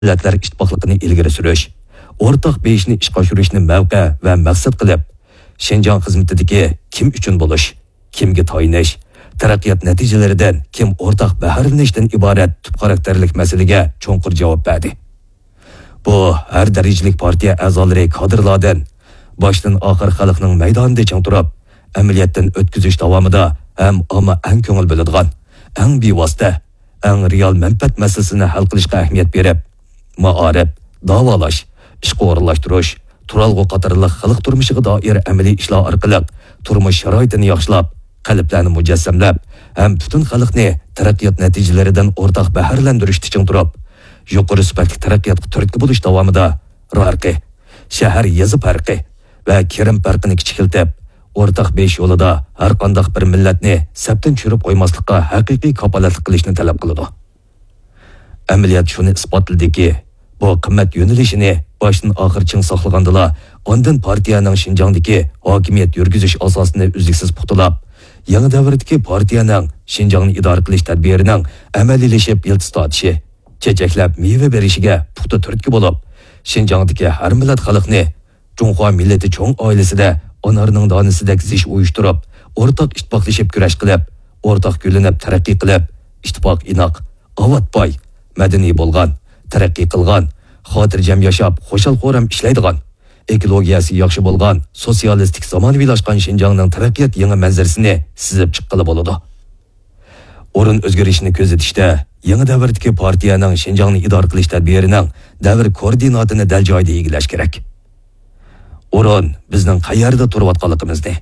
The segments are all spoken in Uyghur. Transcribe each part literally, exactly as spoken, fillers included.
مىللەتلەر ئىتتىپاقلىقىنى ئىلگىرى سۈرۈش، ئورتاق بېيىشنى ئىشقا ئاشۇرۇشنى مەۋقە ۋە مەقسەت قىلىپ، شىنجاڭ خىزمىتىدىكى كىم ئۈچۈن بولۇش، كىمگە تايىنىش، تەرەققىيات نەتىجىلىرىدىن كىم ئورتاق بەھرىلىنىشتىن ئىبارەت تۈپ خاراكتېرلىك مەسىلىگە چوڭقۇر جاۋاب بەردى. بۇ ھەر دەرىجىلىك پارتىيە ئەزالىرى، كادىرلاردىن باشتىن ئاخىر خەلقنىڭ مەيدانىدا چىڭ تۇرۇپ، ئەمەلىيەتتىن ئۆتكۈزۈش داۋامىدا ھەم ئامما ئەڭ كۆڭۈل بۆلىدىغان، ئەڭ بىۋاسىتە، ئەڭ رېئال مەنپەئەت مەسىلىسىنى ھەل قىلىشقا ئەھمىيەت بېرىپ، مائارىپ، داۋالاش، ئىشقا ئورۇنلاشتۇرۇش، تۇرالغۇ قاتارلىق خەلق تۇرمۇشىغا دائىر ئەمەلىي ئىشلار ئارقىلىق تۇرمۇش شارائىتىنى ياخشىلاپ، قەلبلەرنى مۇجەسسەملەپ ھەم پۈتۈن خەلقنى تەرەققىيات نەتىجىلىرىدىن ئورتاق بەھرىلەندۈرۈشتە چىڭ تۇرۇپ، يۇقىرى سۈپەتلىك تەرەققىياتقا تۈرتكە بولۇش داۋامىدا رايون پەرقى، شەھەر، يېزا پەرقى ۋە كىرىم پەرقىنى كىچىكلىتىپ، ئورتاق بېيىش يولىدا ھەرقانداق بىر مىللەتنى سەپتىن چۈشۈرۈپ قويماسلىققا ھەقىقىي كاپالەتلىك قىلىشنى تەلەپ قىلىدۇ. ئەمەلىيەت شۇنى ئىسپاتلىدىكى، بۇ قىممەت يۆنىلىشىنى باشتىن ئاخىر چىڭ ساقلىغاندىلا، ئاندىن پارتىيەنىڭ شىنجاڭدىكى ھاكىمىيەت يۈرگۈزۈش ئاساسىنى ئۈزلۈكسىز پۇختىلاپ، يېڭى دەۋردىكى پارتىيەنىڭ شىنجاڭنى ئىدارە قىلىش تەدبىرىنىڭ ئەمەلىيلىشىپ يىلتىز تارتىشى، چېچەكلەپ مېۋە بېرىشىگە پۇختا تۈرتكە بولۇپ، شىنجاڭدىكى ھەر مىللەت خەلقنى جۇڭخۇا مىللىتى چوڭ ئائىلىسىدە ئانارنىڭ دانىسىدەك زىچ ئۇيۇشتۇرۇپ، ئورتاق ئىتتىپاقلىشىپ كۈرەش قىلىپ، ئورتاق گۈللىنىپ تەرەققىي قىلىپ، ئىتتىپاق ئىناق، ئاۋات باي، مەدەنىي بولغان، تەرەققىي قىلغان، خاتىرجەم ياشاپ، خۇشال-خۇرام ئىشلەيدىغان، ئېكولوگىيەسى ياخشى بولغان، سوتسىيالىستىك زامانىۋىلاشقان شىنجاڭنىڭ تەرەققىيات يېڭى مەنزىرىسىنى سىزىپ چىققىلى بولىدۇ. ئورۇن ئۆزگىرىشىنى كۆزىتىشتە، يېڭى دەۋردىكى پارتىيەنىڭ شىنجاڭنى ئىدارە قىلىش تەدبىرىنىڭ دەۋر كوئوردىناتىنى دەل جايىدا ئىگىلەش كېرەك. ئورۇن بىزنىڭ قەيەردە تۇرۇۋاتقانلىقىمىزنى،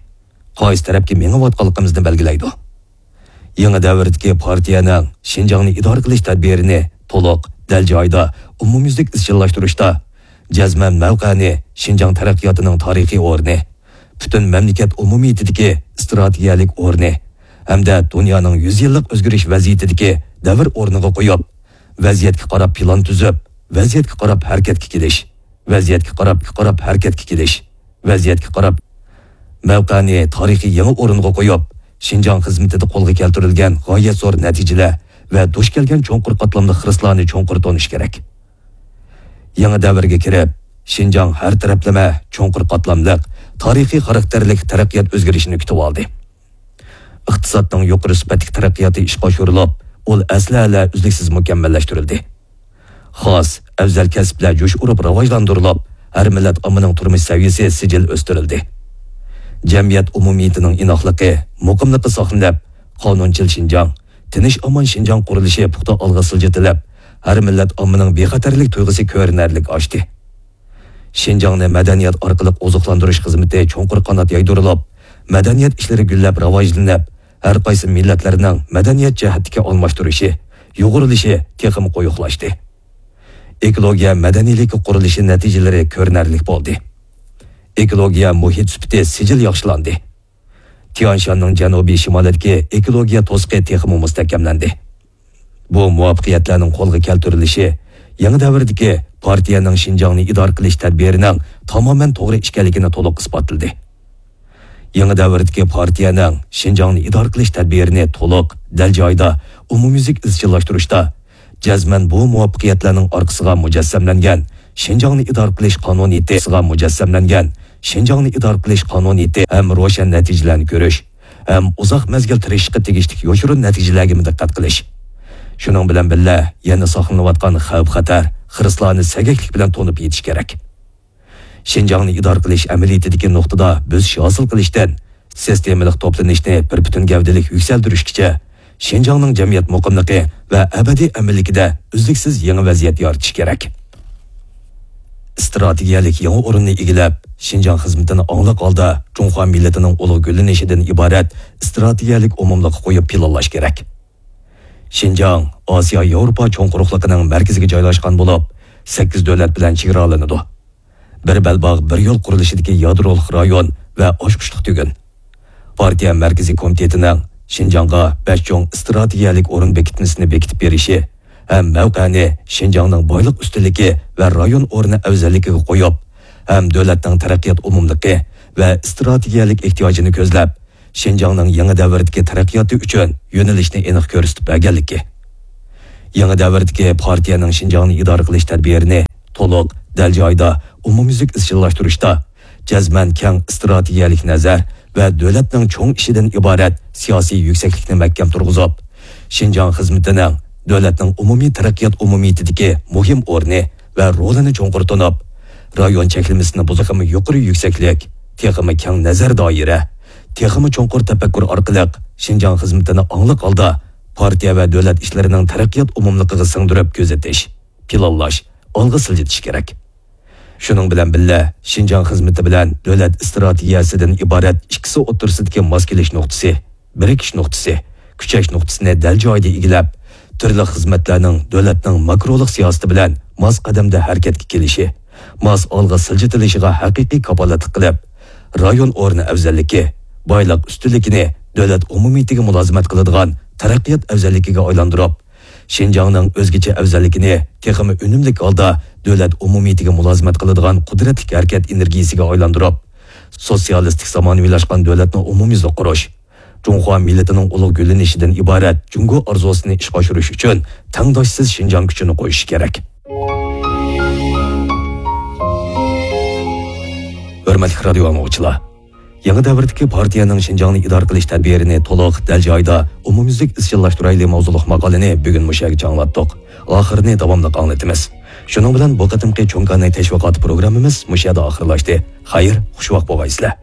قايسى تەرەپكە مېڭىۋاتقانلىقىمىزنى بەلگىلەيدۇ. يېڭى دەۋردىكى پارتىيەنىڭ شىنجاڭنى ئىدارە قىلىش تەدبىرىنى تولۇق، دەل جايىدا، ئومۇميۈزلۈك ئىزچىللاشتۇرۇشتا، جەزمەن مەۋقەنى شىنجاڭ تەرەققىياتىنىڭ تارىخىي ئورنى، پۈتۈن مەملىكەت ئومۇمىيىتىدىكى ئىستراتېگىيەلىك ئورنى ھەمدە دۇنيانىڭ يۈز يىللىق ئۆزگىرىش ۋەزىيىتىدىكى دەۋر ئورنىغا قويۇپ، ۋەزىيەتكە قاراپ پىلان تۈزۈپ، ۋەزىيەتكە قاراپ ھەرىكەتكە كېلىش، ۋەزىيەتكە قاراپ، قاراپ ھەرىكەتكە كېلىش، ۋەزىيەتكە قاراپ مەۋقەنى تارىخىي يېڭى ئورۇنغا قويۇپ، شىنجاڭ خىزمىتىدە قولغا كەلتۈرۈلگەن غايەت زور نەتىجىلەر ۋە دۇچ كەلگەن چوڭقۇر قاتلاملىق خىرىسلارنى چوڭقۇر تونۇش كېرەك. يېڭى دەۋرگە كىرىپ، شىنجاڭ ھەر تەرەپلىمە چوڭقۇر قاتلاملىق، تارىخىي خاراكتېرلىك تەرەققىيات ئۆزگىرىشىنى كۈتۈۋالدى. ئىقتىسادنىڭ يۇقىرى سۈپەتلىك تەرەققىياتى ئىشقا ئاشۇرۇلۇپ، ئۇل ئەسلىھەلەر ئۈزلۈكسىز مۇكەممەللەشتۈرۈلدى. خاس، ئەۋزەل كەسىپلەر جۇش ئۇرۇپ راۋاجلاندۇرۇلۇپ، ھەر مىللەت ئاممىنىڭ تۇرمۇش سەۋىيەسى سىجىل ئۆستۈرۈلدى. جەمئىيەت ئومۇمىيىتىنىڭ ئىناقلىقى، مۇقىملىقى ساقلىنىپ، قانۇنچىل شىنجاڭ، تىنچ-ئامان شىنجاڭ قۇرۇلۇشى پۇختا ئالغا سىلجىتىلىپ، ھەر مىللەت ئاممىنىڭ بىخەتەرلىك تۇيغۇسى كۆرۈنەرلىك ئاشتى. شىنجاڭنى مەدەنىيەت ئارقىلىق ئوزۇقلاندۇرۇش خىزمىتى چوڭقۇر قانات يايدۇرۇلۇپ، مەدەنىيەت ئىشلىرى گۈللەپ راۋاجلىنىپ، ھەر قايسى مىللەتلەرنىڭ مەدەنىيەت جەھەتتىكى ئالماشتۇرۇشى، يۇغۇرۇلۇشى تېخىمۇ قويۇقلاشتى. ئېكولوگىيە مەدەنىيلىكى قۇرۇلۇشى نەتىجىلىرى كۆرۈنەرلىك بولدى. ئېكولوگىيە مۇھىت سۈپىتى سىجىل ياخشىلاندى. تيانشاننىڭ جەنۇبىي شىمالىدىكى ئېكولوگىيە توسۇقى تېخىمۇ مۇستەھكەملەندى. بۇ مۇۋەپپەقىيەتلەرنىڭ قولغا كەلتۈرۈلۈشى يېڭى دەۋردىكى پارتىيەنىڭ شىنجاڭنى ئىدارە قىلىش تەدبىرىنىڭ تامامەن توغرا ئىكەنلىكىنى تولۇق ئىسپاتلىدى. يېڭى دەۋردىكى پارتىيەنىڭ شىنجاڭنى ئىدارە قىلىش تەدبىرىنى تولۇق، دەل جايىدا، ئومۇميۈزلۈك ئىزچىللاشتۇرۇشتا، جەزمەن بۇ مۇۋەپپەقىيەتلەرنىڭ ئارقىسىغا مۇجەسسەملەنگەن شىنجاڭنى ئىدارە قىلىش قانۇنىيىتى، مۇجەسسەملەنگەن شىنجاڭنى ئىدارە قىلىش قانۇنىيىتى ھەم روشەن نەتىجىلەرنى كۆرۈش، ھەم ئۇزاق مەزگىل تىرىشىشقا تېگىشلىك يوشۇرۇن نەتىجىلەرگىمۇ دىققەت قىلىش. شۇنىڭ بىلەن بىللە، يەنە ساقلىنىۋاتقان خەۋپ-خەتەر، خىرىسلارنى سەگەكلىك بىلەن تونۇپ يېتىش كېرەك. شىنجاڭنى ئىدارە قىلىش ئەمەلىيىتىدىكى نۇقتىدا بۆسۈش ھاسىل قىلىشتىن، سىستېمىلىق توپلىنىشنى بىر پۈتۈن گەۋدىلىك يۈكسەلدۈرۈشكىچە، شىنجاڭنىڭ جەمئىيەت مۇقىملىقى ۋە ئەبەدىي ئەمىنلىكىدە ئۈزلۈكسىز يېڭى ۋەزىيەت يارىتىش كېرەك. ئىستراتېگىيەلىك يېڭى ئورۇننى ئىگىلەپ، شىنجاڭ خىزمىتىنى ئاڭلىق ھالدا جۇڭخۇا مىللىتىنىڭ ئۇلۇغ گۈللىنىشىدىن ئىبارەت ئىستراتېگىيەلىك ئومۇملۇققا قويۇپ پىلانلاش كېرەك. شىنجاڭ ئاسىيا-ياۋروپا چوڭ قۇرۇقلۇقىنىڭ مەركىزىگە جايلاشقان بولۇپ، سەككىز دۆلەت بىلەن چېگرالىنىدۇ. بىر بەلباغ، بىر يول قۇرۇلۇشىدىكى يادرولۇق رايون ۋە ئاچقۇچلۇق تۈگۈن. پارتىيە مەركىزىي كومىتېتىنىڭ شىنجاڭغا بەش چوڭ ئىستراتېگىيەلىك ئورۇن بېكىتمىسىنى بېكىتىپ بېرىشى ھەم مەۋقەنى شىنجاڭنىڭ بايلىق ئۈستۈنلۈكى ۋە رايون ئورنى ئەۋزەللىكىگە قويۇپ، ھەم دۆلەتنىڭ تەرەققىيات ئومۇملۇقى ۋە ئىستراتېگىيەلىك ئېھتىياجىنى كۆزلەپ، شىنجاڭنىڭ يېڭى دەۋردىكى تەرەققىياتى ئۈچۈن يۆنىلىشنى ئېنىق كۆرسىتىپ بەرگەنلىكى. يېڭى دەۋردىكى پارتىيەنىڭ شىنجاڭنى ئىدارە قىلىش تەدبىرىنى تولۇق، دەل جايىدا، ئومۇميۈزلۈك ئىزچىللاشتۇرۇشتا جەزمەن كەڭ ئىستراتېگىيەلىك نەزەر ۋە دۆلەتنىڭ چوڭ ئىشىدىن ئىبارەت سىياسىي يۈكسەكلىكنى مەھكەم تۇرغۇزۇپ، شىنجاڭ خىزمىتىنىڭ دۆلەتنىڭ ئومۇمىي تەرەققىيات ئومۇمىيىتىدىكى مۇھىم ئورنى ۋە رولىنى چوڭقۇر تونۇپ، رايون چەكلىمىسىنى بۇزۇپ، تېخىمۇ يۇقىرى يۈكسەكلىك، تېخىمۇ كەڭ نەزەر دائىرە، تېخىمۇ چوڭقۇر تەپەككۇر ئارقىلىق شىنجاڭ خىزمىتىنى ئاڭلىق ھالدا پارتىيە ۋە دۆلەت ئىشلىرىنىڭ تەرەققىيات ئومۇملۇقىغا سىڭدۈرۈپ كۆزىتىش، پىلانلاش، ئالغا سىلجىتىش كېرەك. شۇنىڭ بىلەن بىللە، شىنجاڭ خىزمىتى بىلەن دۆلەت ئىستراتېگىيەسىدىن ئىبارەت ئىككىسى ئوتتۇرىسىدىكى ماس كېلىش نۇقتىسى، بىرىكىش نۇقتىسى، كۈچەش نۇقتىسىنى دەل جايىدا ئىگىلەپ، تۈرلۈك خىزمەتلەرنىڭ دۆلەتنىڭ ماكرولۇق سىياسىتى بىلەن ماس قەدەمدە ھەرىكەتكە كېلىشى، ماس ئالغا سىلجىتىلىشىغا ھەقىقىي كاپالەتلىك قىلىپ، رايون ئورنى ئەۋزەللىكى، بايلىق ئۈستۈنلۈكىنى دۆلەت ئومۇمىيىتىگە مۇلازىمەت قىلىدىغان تەرەققىيات ئەۋزەللىكىگە ئايلاندۇرۇپ، شىنجاڭنىڭ ئۆزگىچە ئەۋزەللىكىنى تېخىمۇ ئۈنۈملۈك ھالدا دۆلەت ئومۇمىيىتىگە مۇلازىمەت قىلىدىغان قۇدرەتلىك ھەرىكەت ئېنېرگىيىسىگە ئايلاندۇُرۇپ، سوتسىيالىستىك زامانىۋىلاشقان دۆلەتنى ئومۇميۈزلۈك قۇرۇش، جۇڭخۇا مىللىتىنىڭ ئۇلۇغ گۈللىنىشىدىن ئىبارەت جۇڭگو ئارزۇسىنى ئىشقا ئاشۇرۇش ئۈچۈن تەڭداشسىز شىنجاڭ كۈچىنى قوشۇش كېرەك. ھۆرمەتلىك رادىيو ئاڭلىغۇچىلار! يېڭى دەۋردىكى پارتىيەنىڭ شىنجاڭنى ئىدارە قىلىش تەدبىرىنى تولۇق، دەل جايىدا، ئومۇميۈزلۈك ئىزچىللاشتۇرايلى ماۋزۇلۇق ماقالىنى بۈگۈن مۇشۇ يەرگىچە ئاڭلاتتۇق. ئاخىرىنى داۋاملىق ئاڭلىتىمىز. شۇنىڭ بىلەن بۇ قېتىمقى چوڭ كاناي تەشۋىقاتى پروگراممىمىز مۇشۇ يەردە ئاخىرلاشتى. خەير، خۇشۋاق بولغايسىلەر!